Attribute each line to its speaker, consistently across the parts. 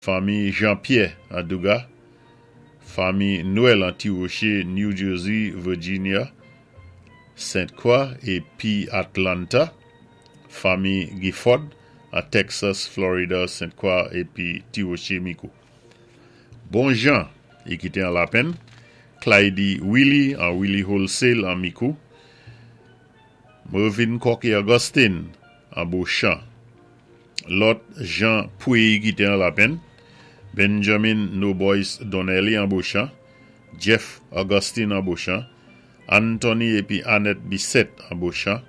Speaker 1: Fanmi Jean-Pierre an Duga, fanmi Noël an Ti Woché, New Jersey, Virginia, Sainte Croix épi Atlanta, fanmi Gifford an Texas, Florida, Sainte Croix épi Ti Woché Mikou. Bon Jean, i ki té an Lapenn, Clyde Willie an Willie Wholesale an Mikou, Mervyn Cocky Augustine an Beauchamp, Lòt Jean Pouy ki té an Lapenn, Benjamin No Boys Donnelly an Beauchamp, Jeff Augustine an Beauchamp, Anthony épi Annette Bissett an Beauchamp,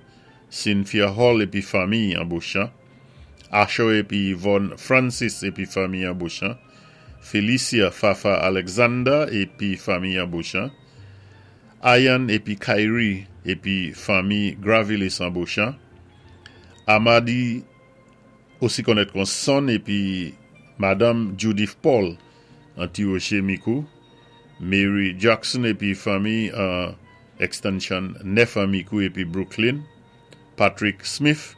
Speaker 1: Cynthia Hall épi fanmi an Beauchamp, Asher épi Yvonne Francis épi fanmi an Beauchamp, Felicia Fafa Alexander épi fanmi an Beauchamp, Ayan épi Kyrie épi fanmi Gravilis an Beauchamp, Amadi osi konnèt kon Son épi Madanm Judith Paul an Ti Woché Mikou, Mary Jackson épi fanmi an Extension 9 an Mikou épi Brooklyn, Patrick Smith,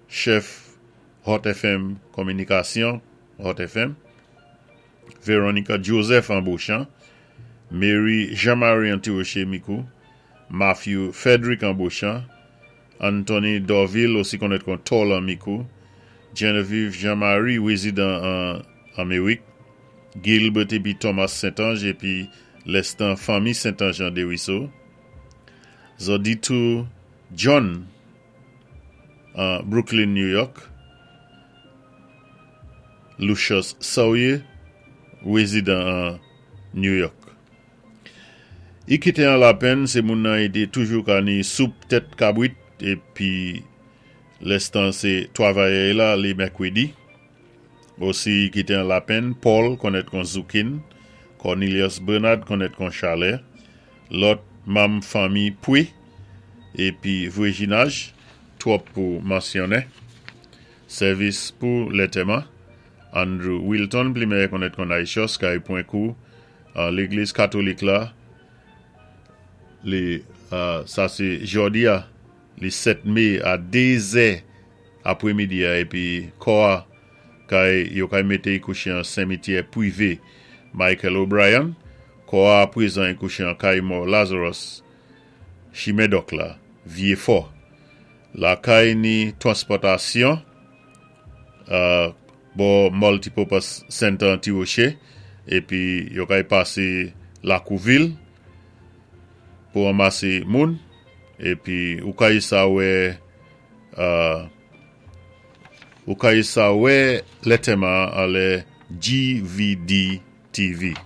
Speaker 1: chèf Hot FM Kominikasyon, Hot FM, Veronica Joseph an Beauchamp, Mary Jean-Marie an Ti Woché Mikou, Matthew Frederick an Beauchamp, Anthony Dorville osi konnèt kon Tol an Mikou, Genevieve Jean-Marie, wézidan an Amérik, Gilbert épi Thomas Saint-Ange épi lèstan fanmi Saint-Ange an Desruisseaux, Zoditou John an Brooklyn, New York, Lucius Sawyer, wézidan an New York. I ki té an Lapenn sé moun nan i té toujou ka ni soup tèt kabwit épi lèstan sé twavayè la lé mèkwédi. Osi i ki té an Lapenn, Paul konnèt kon Zoukin, Cornelius Bernard konnèt kon Chalè, lòt manm fanmi Pwi épi Vréginage, twòp pou mansyonnen. Sèvis pou lètèman, Andrew Wilton pli mèyè konnèt kon Naïchos kay pwan kou an légliz katolik la li sa sé jòdi a li 7 mé a 2 zè apwémidi a épi kò a kay yo kay mété i kouché an senmityè pwivé Michael O'Brien kò a apwézan i kouché an kay mò Lazarus Chimen Dòk la Vyé Fò lakay ni twanspòtasyon bò Multipurpose Center an Ti Woché épi yo kay pasé lakou vil pou ranmasé moun épi ou kay sa wè ou kay sa wè lètèman anlè GVD TV.